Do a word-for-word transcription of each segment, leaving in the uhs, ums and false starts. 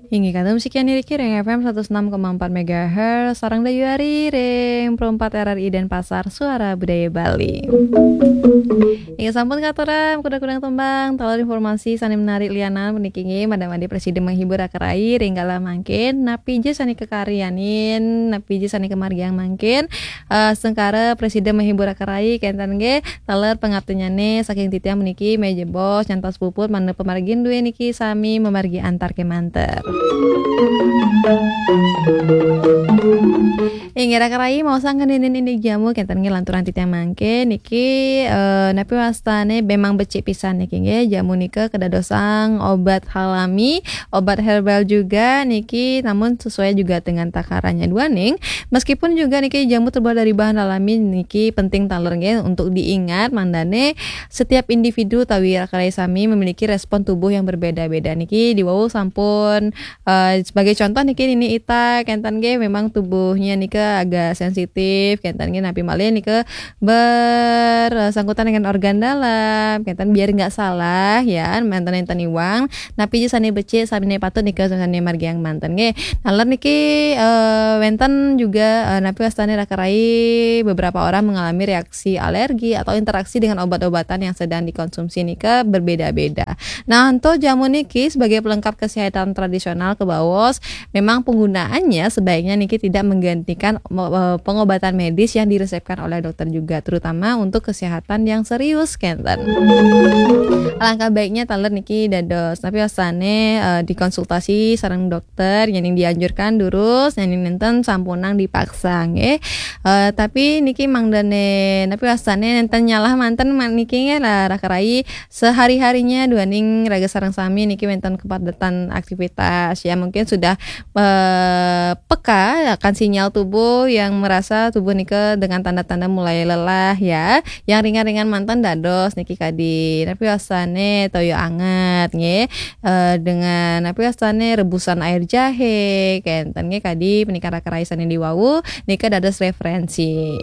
Inggih kata musik yang niriki ring F M seratus enam koma empat megahertz, sareng dayuari ring Pro empat R R I Denpasar, Suara Budaya Bali. Inggih sampun katuran kudang-kudang tembang, taler informasi sane menarik lianan puniki inggih mada-mada prasida menghibur raka rayi ring galah mangkin, napi ja sane kakaryanin, napi ja sane kamargiang mangkin, eh, sengkara prasida menghibur raka rayi kenten nggih, taler pangaptinnyane saking titiang puniki meja bos nyantos puput mangda pamargin duwe niki sami mamargi antar kemanten. Inggih raka rayi, maosang ngeninin indik jamu kenten nggih lanturang titiang mangke niki, eh, napi wastane memang becik pisan niki nggih. Jamu nika kedadosang obat alami, obat herbal juga niki, namun sesuai juga dengan takarannya duaning. Meskipun juga niki jamu terbuat dari bahan alami niki penting taler nggih untuk diingat mandane setiap individu utawi raka rayi sami memiliki respon tubuh yang berbeda-beda niki. Diwau sampun, eh, sebagai contoh niki Nini Ita kenten nggih memang tubuhnya nika agak sensitif kenten nggih, napi malih nika bersangkutan dengan organ dalam kenten, biar nggak salah ya manten enten iwang, napi ja sane becik sane patut nika sane margiang manten nggih. Naler niki, eh, wenten juga, eh, napi wastane raka rayi beberapa orang mengalami reaksi alergi atau interaksi dengan obat-obatan yang sedang dikonsumsi nika berbeda-beda. Nah, anto jamu niki sebagai pelengkap kesehatan tradisional kebaos, memang penggunaannya sebaiknya niki tidak menggantikan mo-, eh, pengobatan medis yang diresepkan oleh dokter juga, terutama untuk kesehatan yang serius kenten. Alangkah baiknya taler niki dados napi wastane, eh, dikonsultasi sareng dokter, yening dianjurkan durus, yening nenten sampunang dipaksa nggih. Eh, tapi niki mangdane napi wastane nenten nyalah manten ma-, niki nggih lah raka rayi sehari-harinya duaning raga sareng sami niki wenten kepadatan aktivitas ya, mungkin sudah, eh, peka akan sinyal tubuh yang merasa tubuh nika dengan tanda-tanda mulai lelah ya. Yang ringan-ringan manten dados niki kadi napi wastane toya anget nggih. Eh, dengan napi wastane rebusan air jahe kenten nggih, kadi punika raka rayi sane diwau nika dados referensi.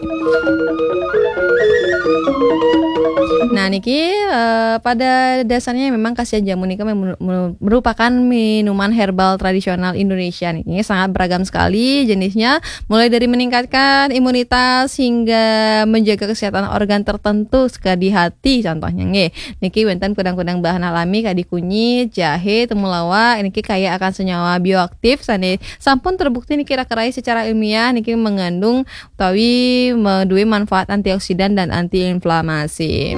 Nah, niki, eh, pada dasarnya memang khasiat jamu nika mem-, mem-, merupakan minuman herbal tradisional Indonesia niki. Sangat beragam sekali jenisnya, mulai dari meningkatkan imunitas hingga menjaga kesehatan organ tertentu, sekadi hati contohnya nggih. Niki wenten kudang-kudang bahan alami kadi kunyit, jahe, temulawak, niki kaya akan senyawa bioaktif sane sampun terbukti niki raka rayi secara ilmiah niki mengandung utawi me-, duwe manfaat antioksidan dan antiinflamasi.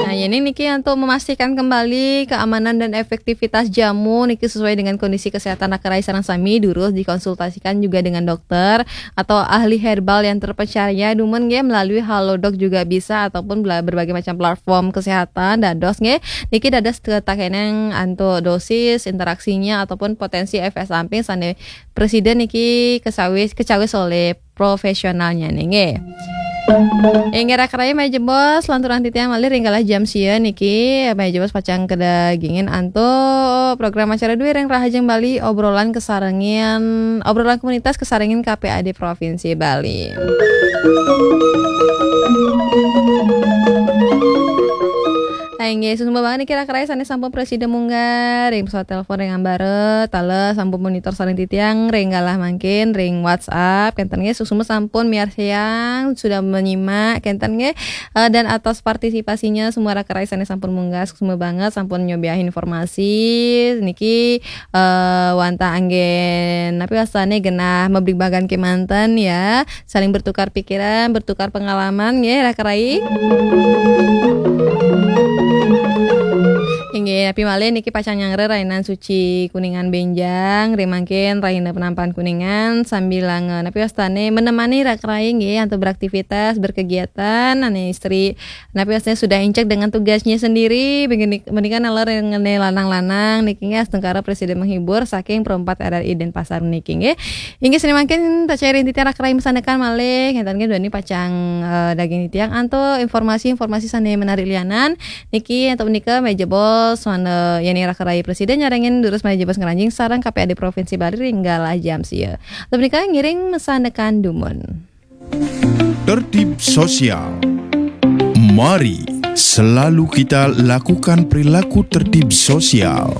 Nah, yening niki untuk memastikan kembali keamanan dan efektivitas jamu niki sesuai dengan kondisi kesehatan raka rayi sareng sami, durus dikonsultasikan juga dengan dokter atau ahli herbal yang terpercaya dumun nggih, melalui Halodoc juga bisa ataupun bela-, berbagai macam platform kesehatan dados nggih. Niki dados tetakenang antuk dosis, interaksinya ataupun potensi efek samping sane presiden niki kesawis, kecawis oleh profesionalnya nih nggih. Inggih raka rayi, meja bos lanturang titiang malih ring galah jam sia niki, meja bos pacang kadagingin antuk program acara duwe ring Rahajeng Bali, obrolan kesarengin, obrolan komunitas kesarengin K P A D Provinsi Bali. Nah, inggih, suksma banget niki raka rayi sane sampun prasida munggah ring pesawat telepon ring ambara, taler sampun monitor sareng titiang ring galah mangkin ring WhatsApp, kenten nggih, suksma sampun miarsiang, sudah menyimak, kenten nggih. Eh, dan atas partisipasinya semua raka rayi sane sampun munggah, suksma banget sampun nyobiahin informasi niki, eh, wantah anggen napi wastane genah mabligbagan kemanten ya. Saling bertukar pikiran, bertukar pengalaman nggih raka rayi. Inggih, napi malih niki pacang nyanggra rainan suci Kuningan benjang, ring mangkin rahina penampan Kuningan sambilanga napi wastane menemani raka rayi nggih antuk beraktivitas, berkegiatan, ane istri napi wastane sudah incek dengan tugasnya sendiri, begini, menika naler ngene lanang-lanang niki nggih astungkara presiden menghibur saking Pro empat R R I Denpasar niki nggih. Inggih, sane mangkin tacairin titiang raka rayi masandekan malih, kenten nggih duaning pacang, eh, daging titiang antuk informasi-informasi sane menarik lianan. Niki antuk menika meja bos, mana yening raka rayi presiden nyarengin durus meja bos ngranjing sareng K P A D Provinsi Bali ring galah jam sia. Antuk menika ngiring masandekan dumun. Tertib sosial. Mari selalu kita lakukan perilaku tertib sosial.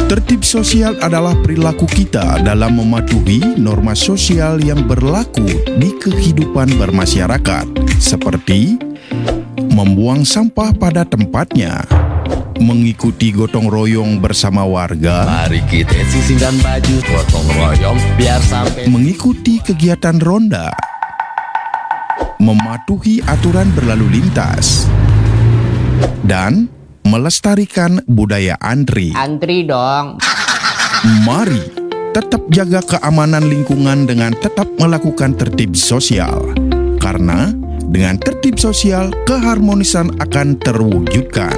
Tertib sosial adalah perilaku kita dalam mematuhi norma sosial yang berlaku di kehidupan bermasyarakat, seperti membuang sampah pada tempatnya, mengikuti gotong royong bersama warga, Mari kita sisingkan baju, gotong royong biar sampai mengikuti kegiatan ronda, mematuhi aturan berlalu lintas, dan melestarikan budaya antri. Antri dong. Mari tetap jaga keamanan lingkungan dengan tetap melakukan tertib sosial. Karena dengan tertib sosial, keharmonisan akan terwujudkan.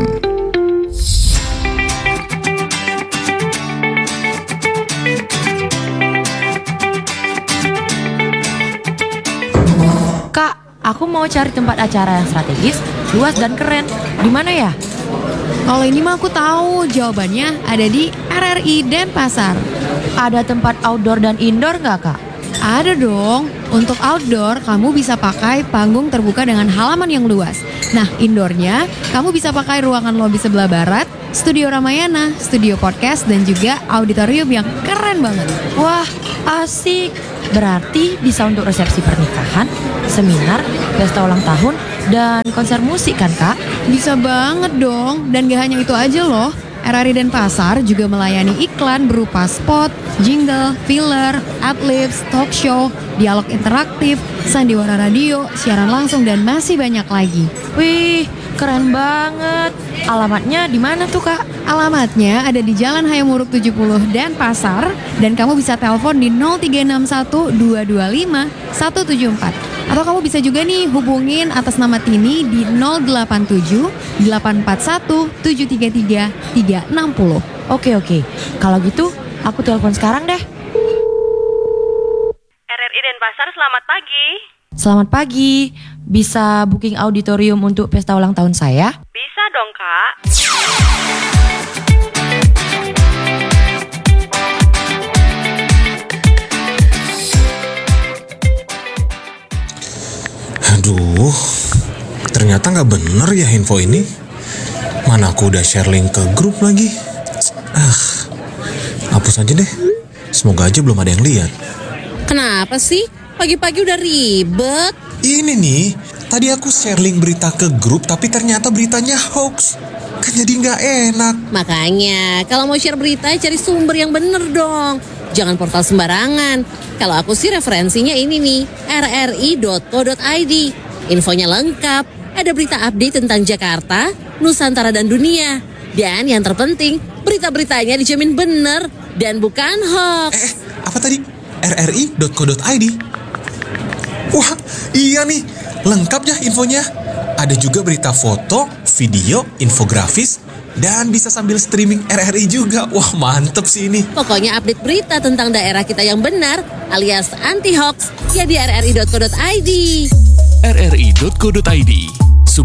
Kak, aku mau cari tempat acara yang strategis, luas dan keren. Di mana ya? Kalau ini mah aku tahu, jawabannya ada di R R I Denpasar. Ada tempat outdoor dan indoor nggak, Kak? Ada dong. Untuk outdoor, kamu bisa pakai panggung terbuka dengan halaman yang luas. Nah, indoornya, kamu bisa pakai ruangan lobi sebelah barat, studio Ramayana, studio podcast, dan juga auditorium yang keren banget. Wah, asik. Berarti bisa untuk resepsi pernikahan, seminar, pesta ulang tahun, dan konser musik kan, Kak? Bisa banget dong. Dan gak hanya itu aja loh. R R I Denpasar juga melayani iklan berupa spot, jingle, filler, adlibs, talk show, dialog interaktif, sandiwara radio, siaran langsung, dan masih banyak lagi. Wih, keren banget. Alamatnya di mana tuh, Kak? Alamatnya ada di Jalan Hayam Wuruk tujuh puluh Denpasar, dan kamu bisa telepon di nol tiga enam satu dua dua lima satu tujuh empat. Atau kamu bisa juga nih hubungin atas nama Tini di nol delapan tujuh delapan empat satu tujuh tiga tiga tiga enam nol. Oke, oke. Kalau gitu, aku telepon sekarang deh. R R I Denpasar, selamat pagi. Selamat pagi. Bisa booking auditorium untuk pesta ulang tahun saya? Bisa dong, Kak. Aduh, ternyata nggak bener ya info ini. Mana aku udah share link ke grup lagi. Ah, hapus aja deh. Semoga aja belum ada yang lihat. Kenapa sih? Pagi-pagi udah ribet. Ini nih, tadi aku share link berita ke grup tapi ternyata beritanya hoax. Kan jadi nggak enak. Makanya, kalau mau share berita, cari sumber yang bener dong. Jangan portal sembarangan. Kalau aku sih referensinya ini nih, R R I dot co dot I D. Infonya lengkap, ada berita update tentang Jakarta, Nusantara dan dunia. Dan yang terpenting, berita-beritanya dijamin bener dan bukan hoax. Eh, apa tadi? R R I dot co dot I D. Wah, iya nih, lengkap ya infonya. Ada juga berita foto, video, infografis, dan bisa sambil streaming R R I juga. Wah, mantep sih ini. Pokoknya update berita tentang daerah kita yang benar alias anti hoax ya di R R I dot co dot I D. R R I dot co dot I D.